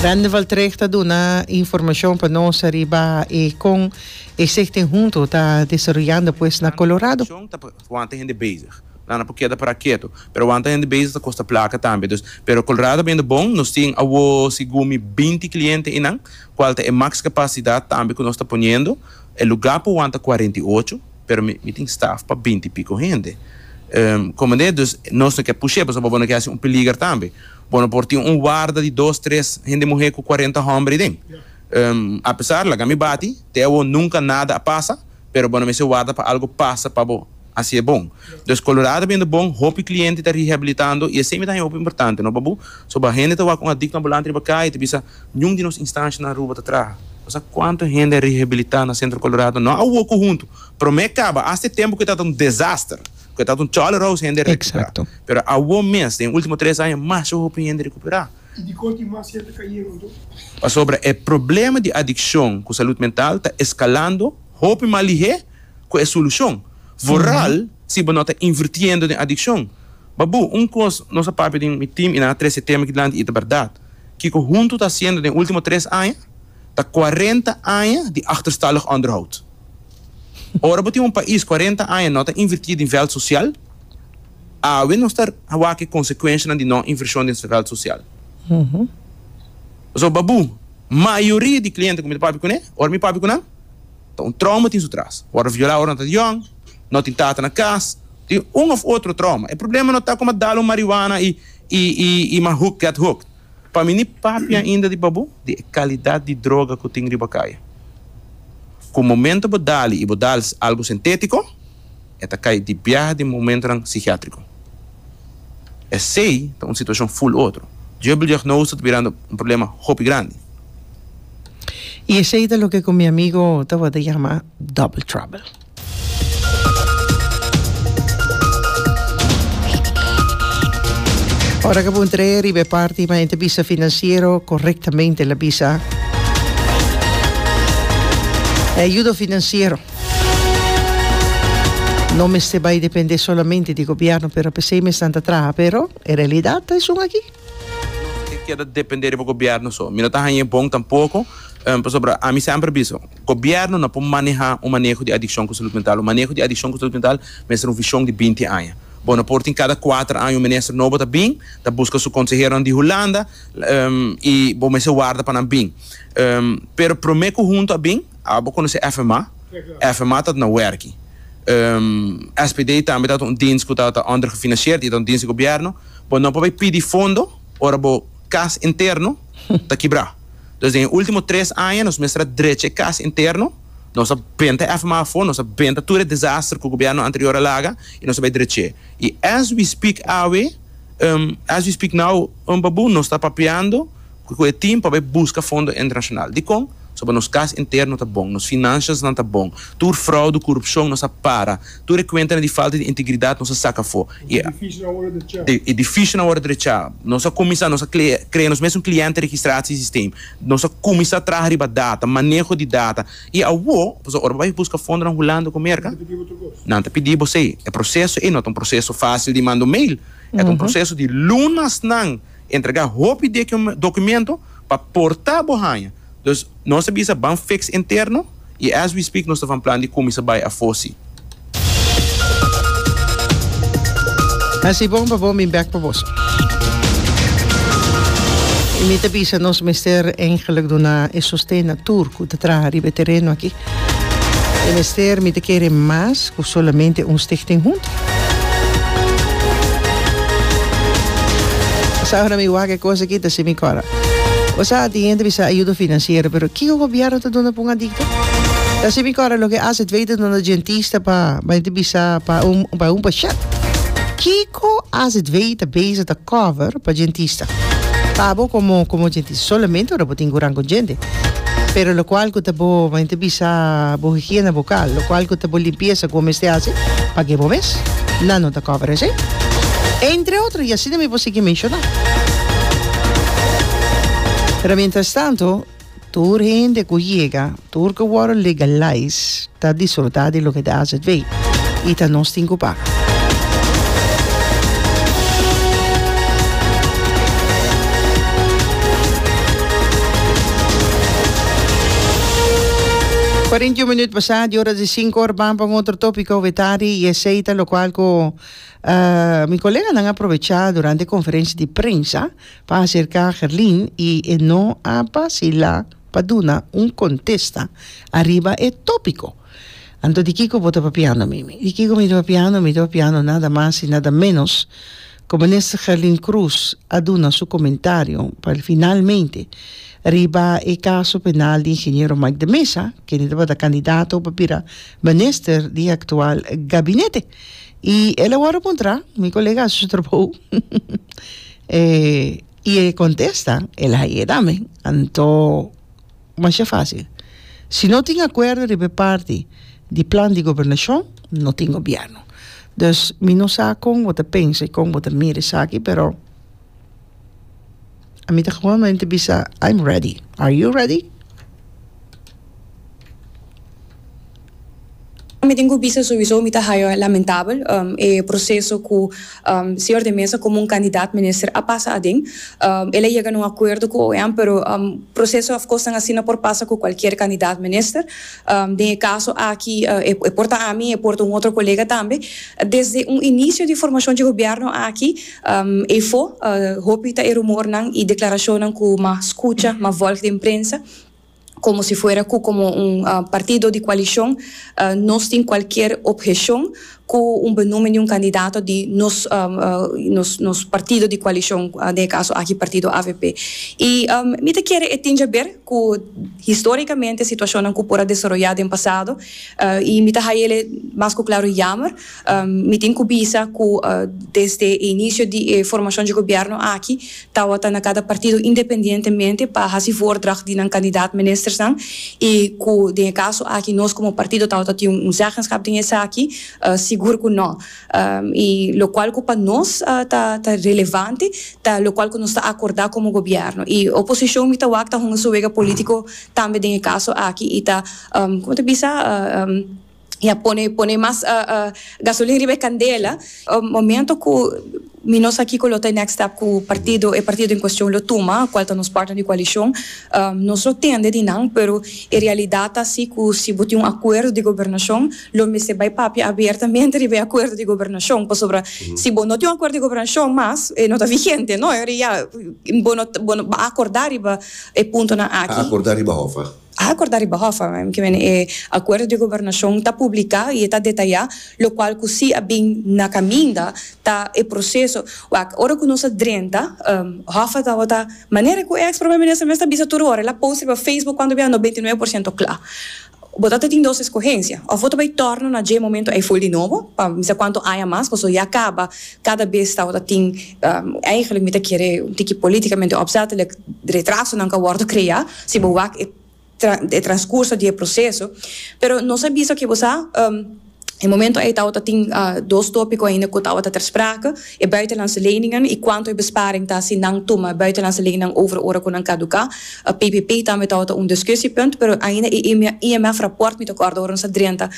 Rende Valtrecht ta duna informacion pa nos ariba e con e Stichting Hunto ta desaroyando pues na Colorado. Ta wanta hende bezig. Nan no por keda para keto. Pero wanta hende bezig ta kosta plaka tambe. Dus, pero Colorado bendo bon. Nos tin awo segun mi binti kliente einan, kual ta e max kapasidat tambe ku nos ta poniendo. E lugá por wanta 48, pero mi mi tin staf pa binti piko hende. Komende? Dus nos no ke push'é pasobra bo no ke hasi un peliger tambe. Bo no por tin un warda di dos, tres hende muhé ku 40 hòmber ei den. Apesar, laga mi bati, te awo nunka nada a pasa. Pero bo no mester warda pa algo pasa pa bo hacié bon. Dus Colorado biendo bon, hopi cliente ta rehabilitando y esey mi ta haña hopi importante, no Babu? So ba hende ta wak un adicto ambulante riba caya y ta bisa, niun di nos instancianan na Aruba ta traha. Bo sa cuanto hende a rehabilita na Centro Colorado? No awo cu hunto, prome caba, hasta e tempo cu e tabata un desaster, cu e tabata un cholerahuis hende a recupera. Pero awo mes, den ultimo tres aña, masha hopi hende a recupera. I dikon tin mas hende kayendo anto? Pasobra e problema di adikshon ku salud mental ta eskalando hopi mas lihé ku e solushon, vooral si bo no ta invirtiendo den adikshon. Babu, un kos nos a papia den mi tim i nan a trese e tema aki dilanti i ta bèrdat. Kiko huntu ta hasiendo den último tres aña ta kuarenta aña di achterstallig onderhoud. Ora bo tin un pais kuarenta aña no ta invirtí den vèlt sosial, Awe nos ta wak e konsekuenshanan di no invershon den vèlt sosial. Pasobra babu, mayoria di kliente ku mi ta papia kuné, ora mi papia ku nan, ta un trauma tin su tras. Wòrdu violá ora nan ta yòn, no tin tata na kas, tin un òf otro trauma. E problema no ta ku mi a dal un marihuana i i mi a hook, get hooked. Pa mi ni papia ainda di babu di e kalidat di droga ku tin riba kaya. Ku momento bo dal i bo dal algu sintétiko, E ta kai di biaha den momentonan psikiatriko. Esei ta un situashon ful otro. Dubbeldiagnose ta birando un problema hopi grandi. I esei ta loke ku mi amigo tabata yama double trouble. Ora ku puntr'é riba e parti ma e ta bisa finansiero korektamente el a bisa e ayudo finansiero. No mester bai depende solamente di gobierno, pero pesey mesnan ta traha, pero e realidad ta esun aki. No ta keda depende riba gobierno so. Mi no ta haña e bon tampoco, pasobra ami semper bisa, gobierno no por maneha un maneho di adiccion cu salud mental. Un maneho di adiccion cu salud mental mester un vision di binti aña. Bo no por tin cada cuater aña un minister nobo ta bin, ta busca su conseheronan di Hulanda, y bo mester warda pa nan bin. Pero prome cu hunto a bin, Abo konosé FMA? FMA ta na wèrki. SPD tambe ta un dins ku ta ondergefinancierd i ta un dins di gobièrnu. Bo no por bai pidi fondo ora bo kas interno ta kibrá. Dus den e último tres aña nos mester a drecha e kas interno. Nos a benta FMA afó, nos a benta tur e desaster ku gobièrnu anterior a laga i nos a bai drech'é. I as we speak awe, as we speak now, Babu, nos ta papiando. Ku e tin pa bai buska fondo internashonal. Dikon? Soba nos kas interno ta bon, nos finansasnan ta bon, tur fraude, korupshon nos a para, tur e kuentanan di falta di integridat nos a saka afó. E edifisionan a wòrdu drechá. E edifisionan a wòrdu drechá. Nos a kuminsá, nos a krea nos mesun kliëntenregistratiesystem. Nos a kuminsá traha riba data, maneho di data. I awor, pasobra ora bo bai buska fondonan Hulanda ku Merka, nan ta pidi bo esei. E proseso ei no ta un proseso fásil di manda un mail. E ta un proseso di lunasnan. Entrega hopi documento pa porta bo haña. Dus nos a bisa ban fix interno y as we speak nos ta van plan di cuminsa bay afo si. Hasi bon pa bo mi bek pa boso. Y mi ta bisa nos mester eigenlijk duna e sosten na tur cu ta traha riba e tereno aki. E mester mi ta kere mas cu solamente un stichting hunto. Sa ora mi wak e cos aki ta si mi cora. Bo sa tin hende bisa ayudo financiero pero kico gobierno ta duna pa un adicto? Ta si mi cora loke AZV ta duna dentista pa pa hende bisa pa un pa un pashent. Kico AZV ta bezig ta cover pa dentista? Pa abo como como dentista solamente ora bo tin curan con djente. Pero locual cu ta bo, men ta bisa, bo higiena vocal, locual cu ta bo limpieza cu bo mester haci, pague bo mes. Nan no ta cover esey. Entre otro, y asina mi por sigui menciona. Pero mientras tanto, tur hende cu yega, tur cu worde legalize, ta disfruta di loke ta azv. Y ta nos tin cu paga. 41 minuut pasá di ora di 5 or ban pa un otro tópiko wetari i esei ta lokual ku mi koleganan a aprovechá durante e konferensia di prensa pa aserká Gerlin i e no a basilá pa duna un kontesta ariba e tópiko. Anto di kiko bo ta papiando Mimi? Di kiko mi ta papiando? Mi ta papiando nada mas i nada ménos ku Minister Gerlin Croes a duna su komentario pa finalmente riba e kaso penal di ingeniero Mike de Meza, kende tabata kandidato pa bira minister di e aktual gabinete. I el a wòrdu puntrá, mi kolega a hasi su trabou, i e kontesta el a haye tambe. Anto masha fásil. Si no tin akuerdo riba e parti di plan di gobernashon, no tin gobièrnu. Dus mi no sa kon bo ta pensa i kon bo ta mira esaki, pero ami ta gewoonmente bisa, I'm ready. Are you ready? Mi tin ku bisa souiso mi ta haya lamentabel e proseso ku señor de Meza komo un kandidat minister a pasa aden. El a yega na un akuerdo ku OM pero proseso òf kosnan asina por pasa ku kualkier kandidat minister. Den e kaso aki e por ta ami, e por ta un otro kolega tambe. Desde un inisio di formashon dje gobièrnu aki eyfo hopi ta e rumornan i deklarashonnan ku m'a skucha, m'a vòlg den prensa. Como si fuera cu como un partido di coalicion nos tin cualkier obhecion cu un benoemen di un candidato di nos nos partido di coalicion, den e caso aki partido avp. Y mi ta kere e tin djaber cu historicamente situacionnan cu por a desaroya den pasado y mi ta hayele mas cu claro jammer. Mi tin cu bisa cu desde e inicio di e formacion dje gobierno aki tawata na cada partido independientemente pa haci voordracht di nan kandidaat ministersnan y cu den e caso aki nos como partido tawata tin un zeggenschap den esaki, sigur cu no. Y locual cu pa nos ta ta relevante ta locual cu nos ta acorda como gobierno. Y oposicion mi ta wak ta hunga su wega politico tambe den e caso aki y ta, como ta bisa, Ya pone pone mas gasolin riba e candela. Momento cu mi no sa kico lo ta e next step cu partido e partido en cuestion lo tuma, cual ta nos partner di coalicion, nos lo tende di nan, pero e realidad ta si cu si bo tin un acuerdo di gobernacion lo mester bay papia abiertamente riba e acuerdo di gobernacion, pasobra si bo no tin un acuerdo di gobernacion mas e no ta vigente, no? Ya bo no bo no a acorda riba e puntonan aki. A acorda riba hof? A acorda riba Hof, kimen e acuerdo di gobernacion ta publica y e ta detaya locual cu si a bin na caminda ta e proceso. Wak, ora cu nos a drenta, Hof a tabata, manera cu e ex prome minister mes ta bisa tur ora, el a post riba Facebook cuando bia 99 por ciento cla. Bo ta tin dos escogencia, of bo ta bay torno na dje momento ey full di nobo, pa misa cuanto aña mas, pasobra ya caba cada bes tabata tin, eigenlijk mi ta kere un tiki politicamente opzettelijk retrasonan cu a wordo crea. Si bo wak e e transcurso di e proceso. Pero nos a bisa ke bo sa, e momento ei tabata tin dos topico ainda cu tabata ter sprake, e buitenlandse leningen y cuanto e besparing ta si nan tuma buitenlandse leningen over ora cu nan caduca. PPP tambe tabata un discussiepunt, pero ainda e IMF rapport mi ta corda ora nos a drenta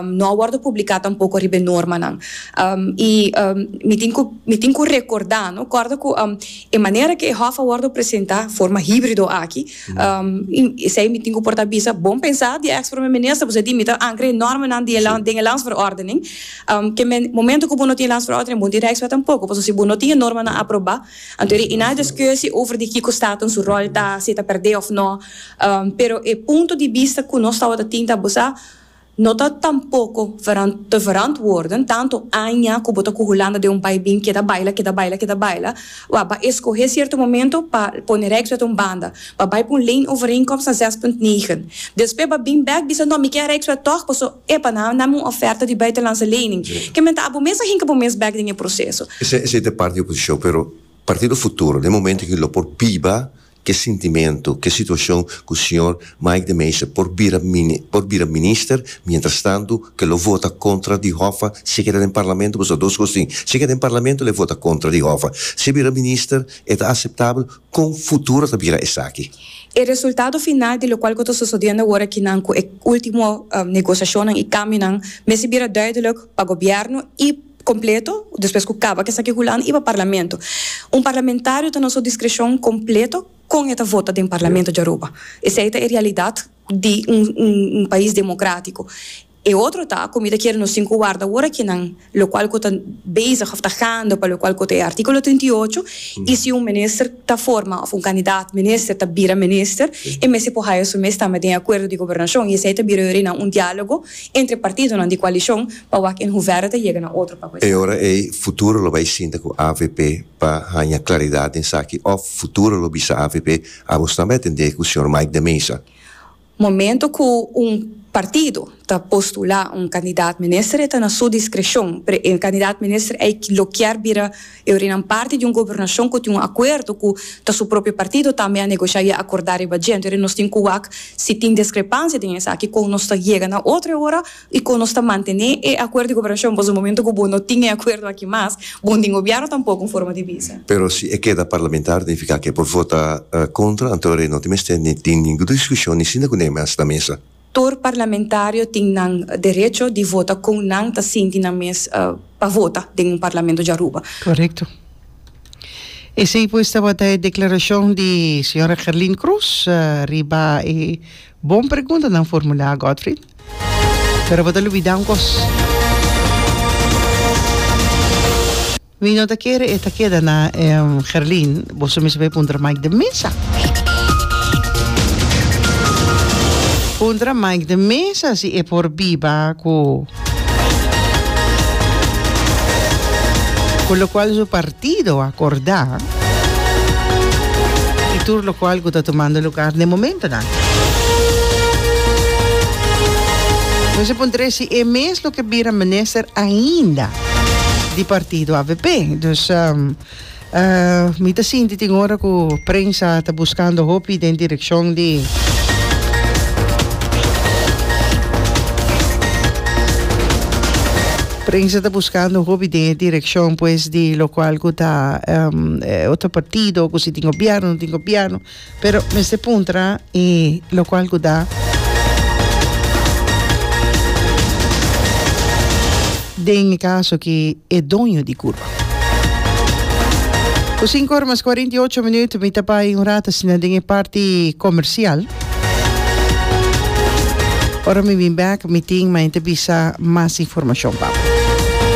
no a wordo publica tampoco riba e normanan. Y mi tin cu mi tin cu recorda, no, corda cu E manera ku e hòf a wòrdu presentá, forma híbrido aki, esei mi tin ku por ta bisa, bon pensá di e èks prome minister, pasobra di mi ta ankra e normanan di e den e landsverordening. Ke men momento ku bo no tin e landsverordening, bo no tin Rijkswet tampoko, pasobra si bo no tin e normanan aprobá, anto e na diskusi over di kiko Staten su ròl ta, si e ta pèrdè òf nò. Pero e punto di bista ku nos tabata tin ta, bo sa, No ta tampoco te verantwoorden tanto aña cu bo ta cu Hulanda den un bai bin keda baila, keda baila, keda baila. Wak, ba escoge cierto momento pa pone Rijkswet un banda, pa bai pa un leenovereenkomst na 6.9. Despues ba bin bek bisa no mi kier Rijkswet toch paso epa nan a dame un oferta di buitenlandse lening. Ke men ta abo mes a hinca bo mes bek den e proceso. Esey ta e parti di oposicion, pero Partido Futuro den momento aki lo por biba Ke sintimentu, ke situashon ku señor Mike de Meza por bira por bira minister, mientras tantu ke lo vota kontra di Hoffa si e keda den parlamento, pasobra dos kos tin, si e keda den parlamento lo e vota kontra di Hoffa, si e bira minister e ta aseptabel, kon futuro ta bira esaki? E resultado final di lokual ku ta sosodiendo awor akinan ku e ultimo negosiashonnan i kambionan mester bira duidelijk pa gobièrnu i. Completo, despues cu caba cu esaki Hulanda y pa Parlamento. Un parlamentario ta na su discrecion completo con e ta vota den Parlamento di Aruba. Esey ta e realidad. di un un pais democratico. E otro ta cu mi ta kier nos tin cu warda awor akinan locual cu ta bezig of ta gaande pa locual cu ta e articulo 38 y si un minister ta forma of un candidaat minister ta bira minister e mester por haya su mes tambe den e acuerdo di gobernacion y esey ta bira yori na un dialogo entre partidonan di coalicion pa wak en hoeverre ta yega na otro pa cu esaki. E ora ey futuro lo bay sinta cu avp pa haya claridad den esaki of futuro lo bisa avp Abos tambe a tendé ku señor Mike de Meza. Momento ku un partido ta postulá un kandidat minister e ta na su diskreshon, pero e kandidat minister ei lo kier bira e orinan parti di un gobernashon ku tin un akuerdo ku ta su propio partido tambe a negoshá i a akordá riba dje. Entonces nos tin ku wak si tin diskrepansia den esaki kon nos ta yega na otro e ora I kon nos ta mantené e akuerdo di gobernacion? Pasobra momento ku bo no tin e akuerdo aki mas, bo no tin gobièrnu tampoko, un forma di bisa. Pero si e keda parlamentario nifiká ku e por vota kontra, anto rei no tin mester ni tin ningun diskushon ni sinta ku ne mas na mesa. Tur parlamentario tin nan derecho di vota kon nan ta sinti nan mes pa vota den un parlamento di Aruba. Korekto. Esei pues tabata e deklarashon di señora Gerlien Croes riba e bon preguntanan formulá, Godfried. Pero bo ta lubidá un kos. Mi no ta kere e ta keda na Gerlin, boso mester bai puntra Mike de Meza. Puntra Mike de Meza si e por biba ku ku lokual su partido a akordá i tur lokual ku ta tumando lugar den momentonan. Nos a puntr'é si e mes lo ke bira minister ainda di partido avp. Dus mi ta sinti tin ora ku prensa ta buskando hopi den direkshon di Prensa ta buskando hopi den e direkshon pues di lokual ku ta otro partido ku si tin gobièrnu no tin gobièrnu. Pero mester puntra e locual cu ta den e caso aki e doño di curva. Cu cinco ora mas 48 minuut mi ta bay un rato asina den e parti comercial. Ora mi bin bek mi tin maente bisa mas informacion pa bo.